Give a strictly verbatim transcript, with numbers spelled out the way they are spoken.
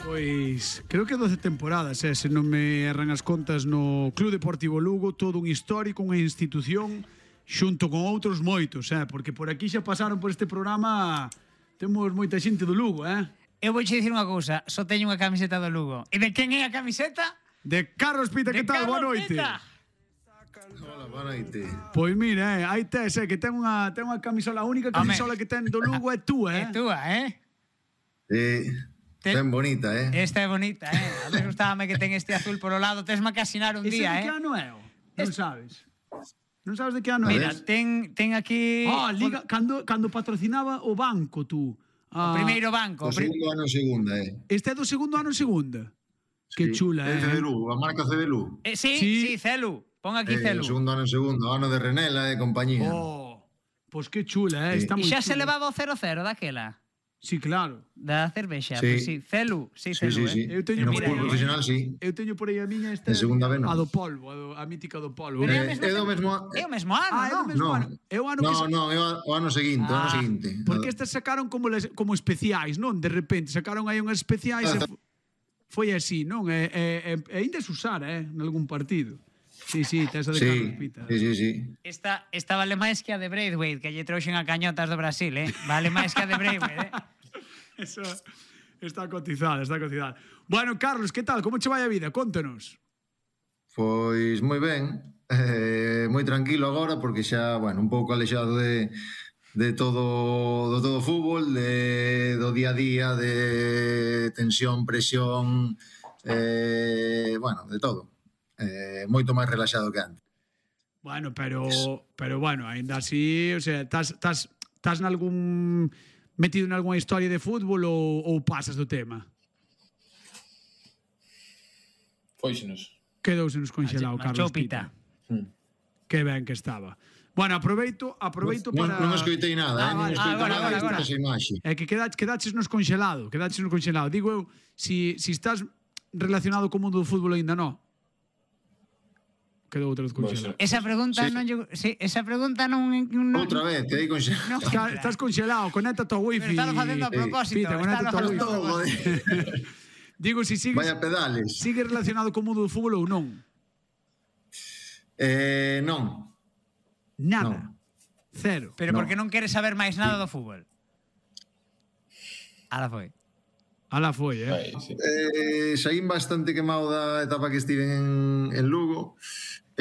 Pois, creo que doce temporadas, eh, se non me erran as contas no Club Deportivo Lugo, todo un histórico, unha institución, xunto con outros moitos, eh, porque por aquí xa pasaron por este programa, temos moita xente do Lugo, eh. Eu vou che dicir unha cousa, só teño unha camiseta do Lugo. E de quen é a camiseta? De Carlos Pita, que tal? Boa noite. Pita. Hola, boa noite. Pois mira, eh, aí tes, eh, que ten unha, ten unha camisola, a única camisola que ten do Lugo é túa, eh. É túa, eh? Eh, ten bonita, eh? Esta é bonita, eh? A mí gustábame que ten este azul por o lado. Tesma que asinar un Ese día, de que eh? ano é? Non sabes? Non sabes de que ano é? Mira, ten, ten aquí... Ah, Liga, cando, cando patrocinaba o banco, tú. O primeiro banco. O segundo ano en segunda, eh? Este é do segundo ano en segunda. Que Sí. chula, É eh. C D L U, a marca C D L U. Eh, sí, Sí. sí, Celu. Pon aquí Eh, Celu. o segundo ano en segundo, ano de Renela e compañía. Oh, pois que chula, eh. Sí. Está E moi xa se chula. levaba o cero cero daquela. Sí, claro. Da cervexa. Sí. Pois sí, Celu. Sí, Sí, Celu, sí, sí. eh? Eu teño No por aí, fútbol profesional, sí. Eu teño por aí a miña esta En segunda B, non. a do polvo, a, do, a mítica do polvo. Pero é a Eh, mesma é do tem- mesmo... É o mesmo ano, Ah, é do non? mesmo Non. ano. É o ano que No, se- no, é o o ano seguinte, o ano Ah, seguinte. Porque estas sacaron como les, como especiais, non? De repente sacaron aí unhas especiais e Ah, fo- foi así, non? E, e, e, e ainda se usar, eh, en algún partido. Sí, sí, tes a de Carlos Sí, Pita. sí, sí, sí. Esta, esta vale máis que a de Braithwaite, que lle trouxen a cañotas do Brasil, eh? Vale máis que a de Braithwaite, eh? Eso está cotizada, está cotizada. Bueno, Carlos, que tal? Como che vai a vida? Contanos. Pois moi ben, eh, moi tranquilo agora porque xa, bueno, un pouco alexado de de todo do todo o fútbol, de do día a día, de tensión, presión, eh, bueno, de todo. Eh, moito máis relaxado que antes. Bueno, pero pero bueno, ainda así, o sea, estás estás estás nalgún metido en algunha historia de fútbol ou, ou pasas do tema? Fóixenos. Quedouse nos congelado, Marchou Carlos Pita. Pita. Que ben que estaba. Bueno, aproveito, aproveito non, para... non escoitei nada, Ah, eh, non vale. escoitei agora, nada, agora, escoitei agora. esa imaxe. É que quedaches, quedaches nos congelado, quedaches nos congelado. Digo eu, si, si estás relacionado co mundo do fútbol aínda non. Quedou outra vez congelado. Esa pregunta Sí. non lle... Sí, esa pregunta non... non Outra vez, que aí con xa... non Está, estás congelado, conéctate ao wifi. Pero estalo facendo a propósito. Pita, conéctate ao estalo wifi. facendo a Todo, propósito. joder. Digo, si sigues, Vaya pedales. sigues relacionado co mundo do fútbol ou non. Eh, non. Nada. No. Cero. Pero No. por que non queres saber máis nada do fútbol? Ala foi. Ala foi, eh. Vai, sí. Eh, saín bastante quemado da etapa que estive en, en Lugo. Eh,